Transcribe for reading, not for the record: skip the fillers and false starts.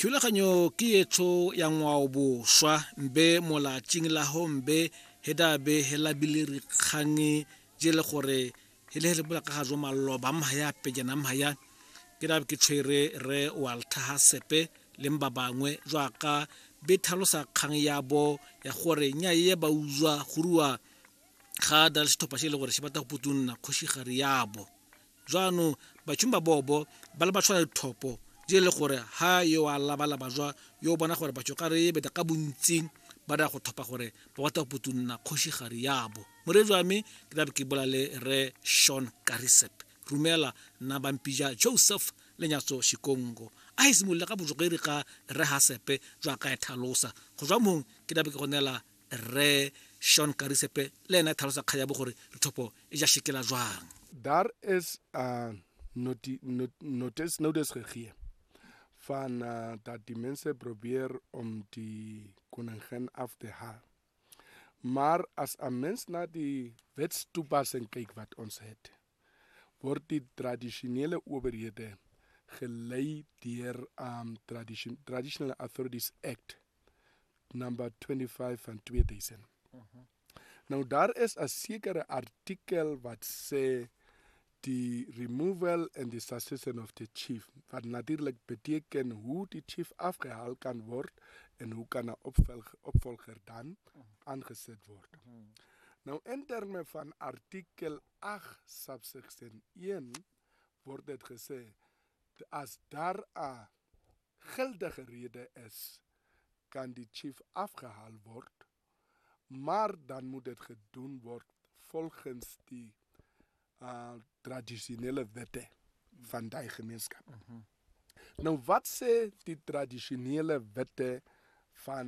Thulaganyo ke etsho ya ngwaoboswa mbe molatšing la ho mbe he dabe he labile rikgang je le gore he le he le bola ka ga jo maloba mhaya pejana mhaya ke dabe ke tshwere re Walter Hasepe le ba bangwe jwaka be tlhalosa kgang ya bo ya gore nya ye ba utswa go rua ga da le setlhopha se e le gore se batla go putunna kgošigare yabo. Jaanong batšhumi ba bobo ba le ba tshwara dithopo di le gore ha yo a labalaba jwa yo o bona gore batho ka re beta ka bontsi ba da go thopa gore ba batla go putunna kgošigare yabo. Moreetsi wa me ke tlabe ke bola le re Sean Karisep rumela nna bampija Joseph Lenyatso Shikongo a e simolola ka bojogeri ga re Hasepe jwa ka e tlhalosa go jwa mong ke tlabe ke go neela Rre Sean Karisepe le ene a tlhalosa kgang ya bo gore dithopo e ja shekela jwang. Daar is 'n noti, not, notice, notice gegee van dat die mense probeer om die koningin af te haal. Maar as 'n mens na die wetstoepassing kyk wat ons het, word die tradisionele owerhede gelei deur Traditional Authorities Act number 25 van 2000. Nou daar is 'n sekere artikel wat sê die removal and the succession of the chief, wat natuurlik beteken hoe die chief afgehaal kan word en hoe kan 'n opvolger dan aangesit word. Nou in terme van artikel 8 subsection 1 word dit gesê as daar 'n geldige rede is, kan die chief afgehaal word, maar dan moet dit gedoen word volgens die tradisionele wette van daai gemeenskap. Nou wat sê die tradisionele wette van